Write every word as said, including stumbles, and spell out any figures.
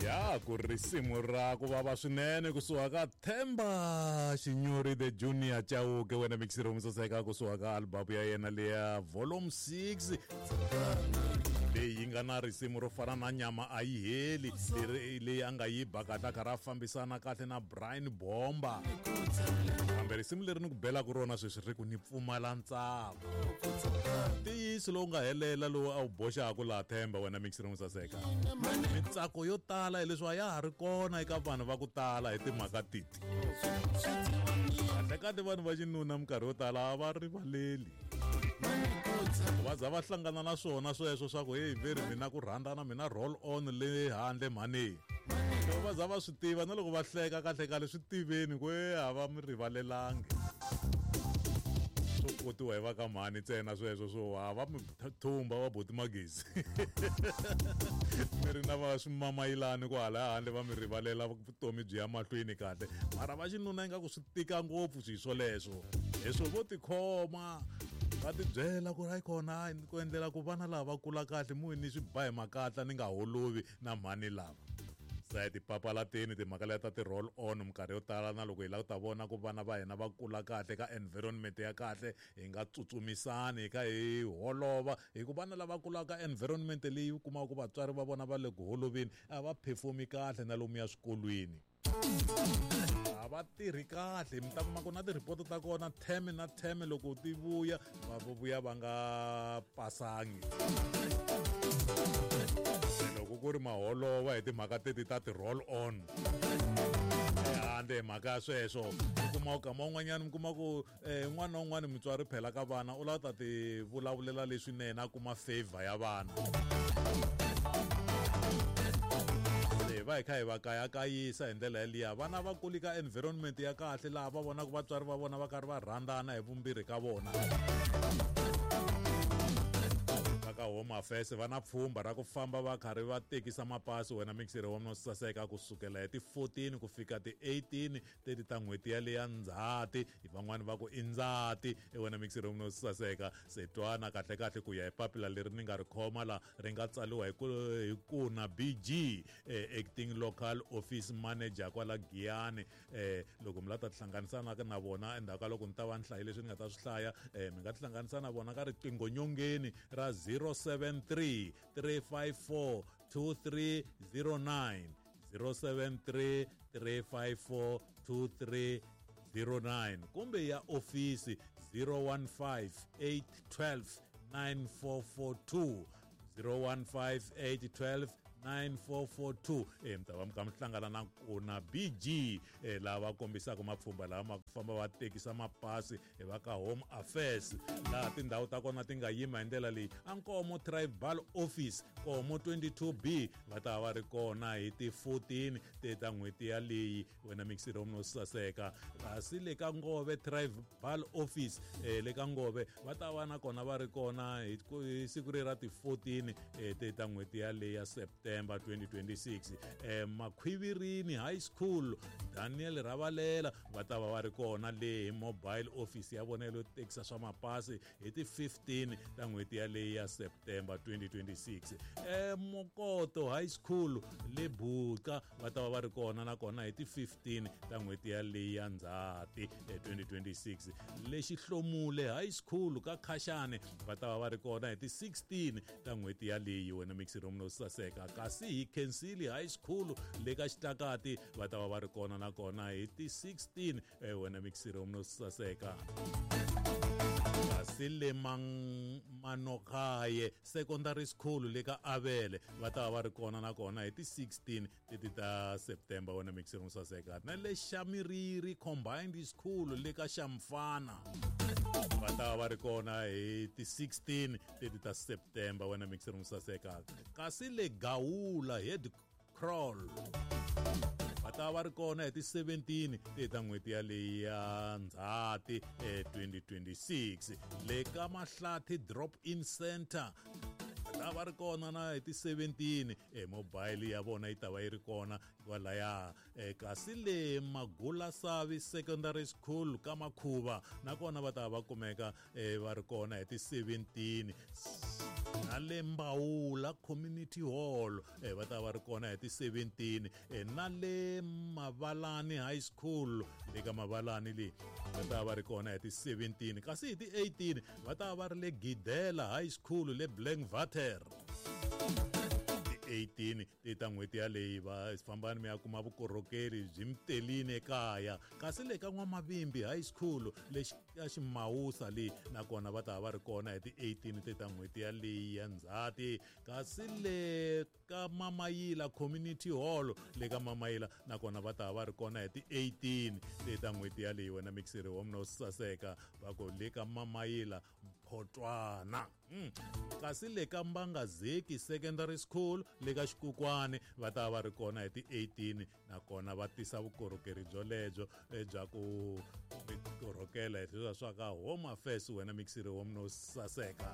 Ya ku risimu ra ku vava swinene kusuka ka Themba Xinyori the Junior Chauke wena mixiro musaseka kusuka ka album ya yena leya volume six leyi nga na risimu ro fana na nyama a yi heli leyi a nga yi ba kahle a karhi a fambisana kahle na Brian Bomba kambe risimu leri ni ku belaka rona sweswi ri ku ni pfumala ntsako ntiyiso lowu nga helela lowu a wu boxaka laha Themba wena mixiro musaseka mitsako yo tala hileswi a ya ha ri kona eka vanhu va ku tala hi timhaka titi kahlekahle vanhu va xinuna minkarhi yo tala a va rivaleli va za va hlangana na swona sweswo swa ku hey veri mina ku rhandzana mina roll on le handle mhani loko va za va swi tiva na loko va hleka kahlekahle swi tiveni ku e a va mi rivalelangi swo kotiwa hi va ka mhani ntsena sweswo swo a va mi thumba va boti magezi mi ri na va swimamayilani kwala handle va mi rivalela vutomi byi ya mahlweni kahle mara va xinuna ingaku swi tika ngopfu swi swoleswo leswo vo tikhoma va tibyela ku ri hayi kona ku endlela ku vana lava va kula kahle muhi ni swi ba hi makatla ni nga holovi na mhani lava sa hi ti papalateni timhaka leti ta ti-roll on minkarhi yo tala na loko hi lava ku ta vona ku vana va hina va kula kahle ka environment ya kahle hi nga tsutsumisani hi kha hi holova hi ku vana lava kulaka environment leyi u kumaka ku vatswari va vona va le ku holoveni a va perform-i kahle na lomuya swikolweni a va tirhi kahle mi ta kuma ku na ti-report ta kona term na term loko ti vuya va vuya va nga pasangi loko ku ri maholova hi timhaka teti ta ti-roll on ehandle hi mhaka ya sweswo u kuma ku kama un'wanyana mi kuma ku un'wana na un'wana mutswari phela ka vana u lava ta ti vulavulela leswinene a kuma favor ya vana va hi kha hi va kayakayisa hi ndlela yaliya vana va kuli ka environment ya kahle laha va vonaka vatswari va vona va karhi va rhandzana hi vumbirhi ka vona va ka Home Affairs va na pfhumba ra ku famba va karhi va tekisa mapasi wena mixere wa mina saseka kusukela hi ti fourteen ku fika ti eighteen teti ta n'hweti yaleya Ndzhati van'wani va ku i Ndzati wena mixere wa mina saseka se twana kahle kahle ku ya hi papila leri ni nga ri khoma la ri nga tsariwa hi ku hi kuna B G eh, acting local office manager kwala Giyani eh, loko mi la ta tihlanganisa na na vona endzhaku ka loko ni ta va ni hlayi leswi ni nga ta swi hlaya eh, mi nga tihlanganisa na vona ka riqingho nyongeni ra zero seven three three five four two three zero nine zero seven three three five four two three zero nine kumbe ya ofisi zero one five eight twelve nine four four two zero one five eight twelve nine four four two eh mi ta va mi kha mi hlangana na kuna B G eh lava kombisaka mapfhumba lama ma ku famba va tekisa mapasi hi va ka Home Affairs laha tindhawu ta kona ti nga yima hi ndlela leyi a Nkomo Tribal Office Nkomo twenty-two B va ta va ri kona hi ti fourteen te ta n'hweti yaleyi wena mixiro no saseka kasi le ka Ngove Tribal Office eh le ka Ngove va ta va na kona va ri kona hi siku ri ra ti fourteen eh te ta n'hweti yaleyi ya September twenty twenty-six eh Makhwivirini High School Daniel Ravalela va ta va va ri kona le hi mobile office ya vona yo tekisa swa mapasi hi ti fifteen ta n'hweti yaleyi ya September twenty twenty-six eh Mokoto High School le Buka va ta va va ri kona na kona hi ti fifteen ta n'hweti yaleyi ya Ndzhati twenty twenty-six le Xihlomule High School ka Khashane va ta va va ri kona hi ti sixteen ta n'hweti yaleyi wena mixiro no saseka kasi hi Kensili High School le ka Xitlakati va ta va va ri kona na kona hi ti sixteen eh wena mixiro no saseka kasi le Manokaye Secondary School le ka Avele va ta va va ri kona na kona hi ti sixteen teti ta September wena mixiro no saseka na le Xamiriri Combined School le ka Xamfana va ta va ri kona hi ti sixteen teti ta September wena mixiro no saseka kasi le Gawula Head Crawl va ta va ri kona hi ti seventeen te ta n'hweti yaleyi ya Ndzhati twenty twenty-six le ka Mahlathi Drop In Center va ta va ri kona na hi ti seventeen e mobile ya vona yi ta va yi ri kona kwalaya. E kasi le Magulasavi Secondary School ka Makhuva nakona va ta va kumeka e va ri kona hi ti seventeen. Na le Mbawula Community Hall e va ta va ri kona hi ti seventeen. E na le Mavalani High School le ka Mavalani le va ta va ri kona hi ti seventeen. Kasi hi ti eighteen va ta va ri le Gidela High School le Blankwater. eighteen ti ta n'hweti yaleyi va fambani mi ya kuma vukorhokeri byi mitelini ekaya. Kasi le ka N'wamavimbi High School lexi ka Ximawusa le nakona va ta va ri kona hi ti eighteen ti ta n'hweti yaleyi ya Ndzhati. Kasi le ka Mamayila Community Hall le ka Mamayila nakona va ta va ri kona hi ti eighteen ti ta n'hweti yaleyi wena mixiri wa mina wo saseka va ku le ka Mamayila Mphotwana. Mm. Kasi le ka Mbangazeki Secondary School le ka Xikukwani va ta va ri kona hi ti eighteen nakona va tisa vukorhokeri byolebyo bya ku korhokela hi leswiya swa ka Home Affairs wena mixiri wa mina wo saseka.